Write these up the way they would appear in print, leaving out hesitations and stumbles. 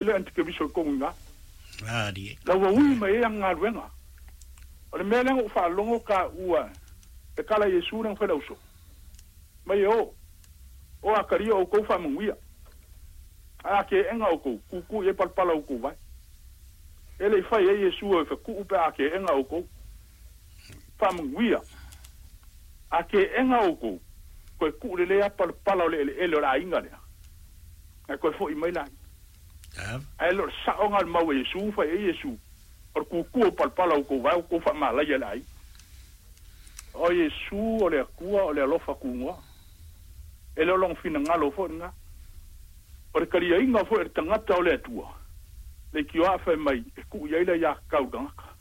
Le antikeriso i kouga iga. La ua ui mai ai ana galuega. O le mea lea na ou faalogo taua e tala Iesu lea na fai le auso mai e o, o a talia outou faamanuia, ae a keega outou, tutu i ai palapala o outou vae. E le i fai ai Iesu e fetuu pe a keega outou. Faamanuia. A keega outou, toe tuu lelei lava palapala o le eleele o le aiga lea, ae toe foi mai laia. Ae le o le sao na o le mau a Iesu, fai ai Iesu, o le tutu o palapala o outou vae, ua outou faamalaia e le aiga. O Iesu o le Atua o le alofa tunoa. E le o lona finagalo foi lena. O le taliaina foi o le tagata o le Atua, leitioa a fai mai e tuu i ai le aiatatau i le tagata.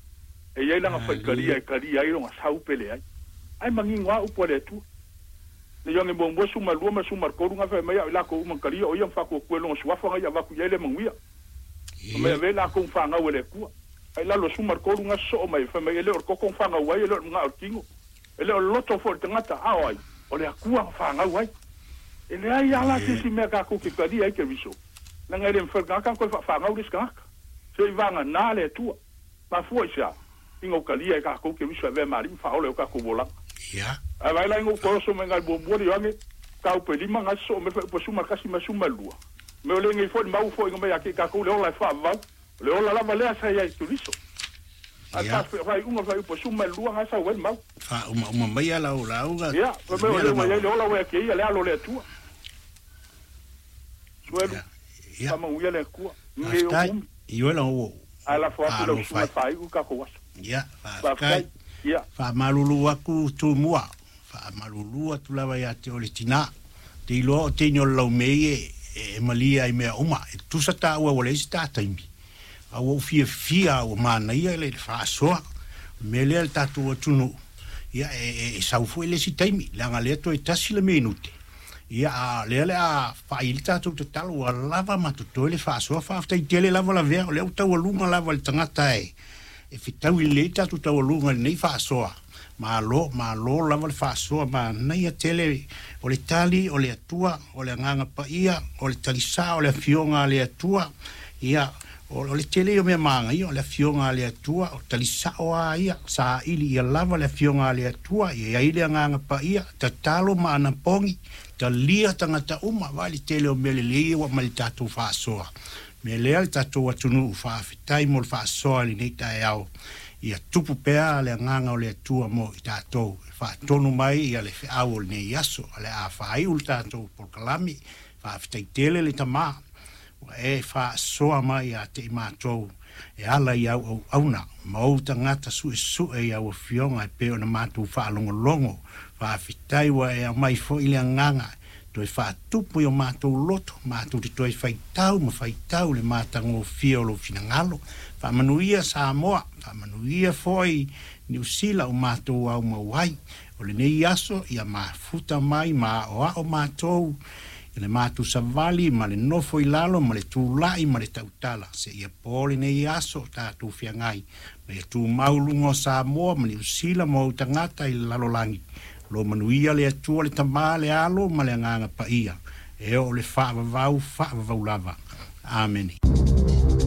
E i ai lana faitalia e talia ai lona sau pe leai. Ae manino lava upu a le Atua. Le Ioane muamua 12 ma le 13 na fai mai au i latou uma na talia o ia ma faatuatua i lona suafa na ia avatu i ai le manuia. Fai mai avea i latou na fanau e le Atua. Ae i lalo o le 13 na sosoo mai fai mai e le o le toto na fanau ai e le o le manao o le tino. E le o le loto foi o le tagata a o ai? O le Atua na fanau ai. E leai lava la se isi mea tatou te talia ai Keriso, leaga e le mafai e le tagata ona toe faafanau le isi tagata. Se i vagana le Atua. Mafua i se a? Ina ua talia e tatou Keriso e avea ma Alii ma Faaola i o tatou olaga. Ae vaai la ina ua toe oso mai ina i le muamua le Ioane, mataupu e lima na sosoo mai le fuaiupu e 11 ma le 12. Mea o lenei foi le mau ua foaiina mai ia te i tatou le ola e faavavau. O le ola lava lea sa i ai i Keriso. A o le faaiuga o le fuaiupu e 12 na sau ai le mau. Faaumauma mai a lau lauga. Ia, fai mai o lea ua i ai le ola ua ia te ia le Alo o le Atua. Suelu, faamanuia le Atua. Nei ou umi. Ae lafo atu i lau susuga e faaiu le tatou aso. Ia, faafetai. Ia. Faamalulu atu Tumua, faamalulu atu lava ia te oe le tina. Ou te iloa o teine o le laumei e malie ai mea uma. E tusa taua ua leai se ta taimi. A ua ou fiafia ua manaia le faasoa. O le mea lea le tatou atunuu, ia e sau foi le isi taimi, leaga lea toe tasi le minute. Ia, a o lea o le a fai le tatou tatalo, ua lava ma totoe le faasoa. Faafetai tele lava Lavea, o lea ua taualuga lava le tagata e fetaui lelei le tatou taualuga i lenei faasoa. Malo, malo lava le faasoa, manaia tele. O le tali o le Atua, o le Agaga Paia, o le tali sao o le Afioga a le Atua. Ia, O le tele ia o mea manaia, o le Afioga a le Atua, o tali sao lava ia, saili ia lava le Afioga a le Atua, ia i ai le Agaga Paia, tatalo ma anapogi, talia tagata uma, vaai le tele o mea lelei ia ua aumai i le tatou faasoa. O le mea lea le tatou atunuu, faafetai mo le faasoa i lenei taeao, ia tupu pea le Agaga o le Atua mo i tatou, e faatonu mai ia le feau o lenei aso, o le a faaiu le tatou polokalame, faafetai tele le Tama. Ua e faasoa mai ia te i matou e ala i au auauna ma ou tagata suesue i au afioga e pei ona matou faalogologo. Faafetai ua e aumai foi le agaga e toe faatupu i o matou loto, matou te toe faitau ma faitau i le matagofie o lou finagalo. Faamanuia Samoa, faamanuia foi Niu Sila o matou aumau ai. O lenei aso ia mafuta mai ma aoao matou i le matou savali ma le nofo i lalo ma le tulai ma le tautala seia po lenei aso o tatou feagai ma ia tumau luga o Samoa ma Niu Sila ma ou tagata i le lalolagi. Lo manuia le Atua le Tama le Alo ma le Agaga Paia e oo le faavavau faavavau lava. Amene.